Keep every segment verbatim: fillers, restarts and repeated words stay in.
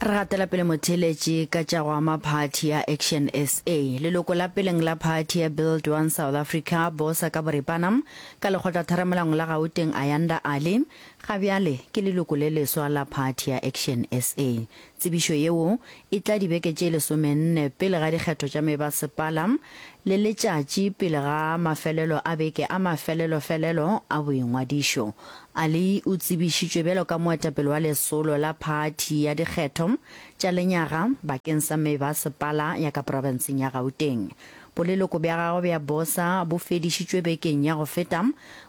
Re gatela pele motheeletši ka tša go ama phathi ya Action SA. Leloko la peleng la phathi ya Build One South Africa, BOSA ka boripana, ka lekgotlatheramolaong la Gauteng Ayanda Ali, ga bjale ke leloko le leswa la phathi ya Action SA. Tsebišo yeo e tla dibeke tše lesomenne pele ga dikgetho tša mebasepala le letšatši pele ga mafelelo a beke a mafelelofelelo a boingwadišo. Ali o tsebišitšwe bjalo ka moetapele wa lesolo la phathi ya dikgetho tša lenyaga bakeng sa mebasepala ya ka profenseng ya Gauteng. Boleloko bja gagwe bja BOSA bo fedišitšwe bekeng ya go feta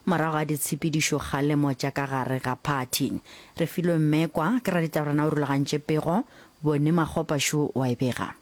morago ga ditshepedišokgalemo tša ka gare ga phathi. Refilwe Mmekwa ke raditaborena o rulagantše pego, Boni Makgopa šo wa e bega.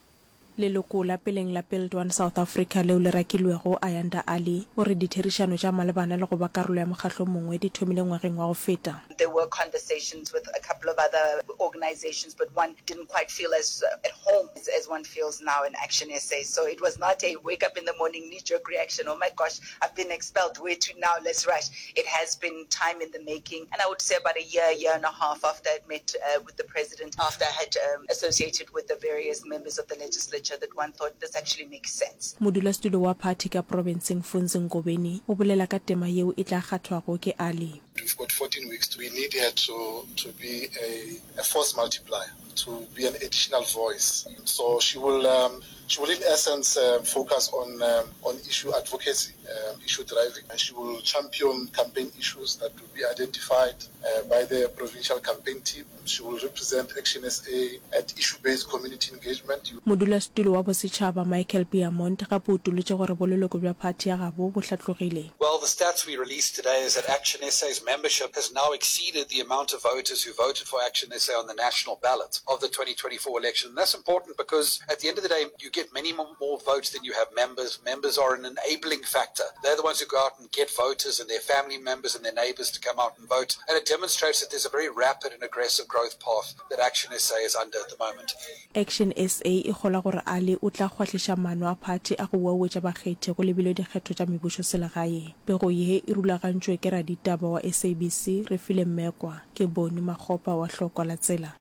Leloko la peleng la Build One South Africa leo le rakilwego, Ayanda Allie, o re ditherišano tša malebana le go ba karolo ya mokgahlo o mongwe di thomile ngwageng wa go feta. There were conversations with a couple of other organizations but one didn't quite feel as at home as, as one feels now in Action SA. So it was not a wake up in the morning knee jerk reaction, oh my gosh, I've been expelled, where to now, let's rush. It has been time in the making and I would say about a year, year and a half after I'd met uh, with the president, after I had um, associated with the various members of the legislature that one thought this actually makes sense. Modulasetulo wa phathi ka profenseng Funzi Ngobeni o bolela ka tema yeo e tla kgathwago ke Ali. We've got fourteen weeks, we need her to, to be a, a force multiplier, to be an additional voice. So she will, um, she will in essence um, focus on, um, on issue advocacy, um, issue driving, and she will champion campaign issues that will be identified uh, by the provincial campaign team. She will represent Action SA at issue-based community engagement. Modulasetulo wa bosetšhaba Michael Beamont gape o utolotše gore boleloko bja phathi ya gabo bo hlatlogile. Well, the stats we released today is that Action SA's membership has now exceeded the amount of voters who voted for Action SA on the national ballot of the twenty twenty-four election. And that's important because at the end of the day, you get many more votes than you have members. Members are an enabling factor. They're the ones who go out and get voters and their family members and their neighbors to come out and vote. And it demonstrates that there's a very rapid and aggressive growth path that Action S A is under at the moment. Action S A e kgolwa gore Ali o tla kgwahliša maano a phathi a go uauetša bakgethi go lebilwe dikgetho tša mebušoselegae. Pego ye e rulagantšwe ke raditaba wa S A B C, Refile Mmekwa. Ke Boni Makgopa wa Hlokwa la Tsela.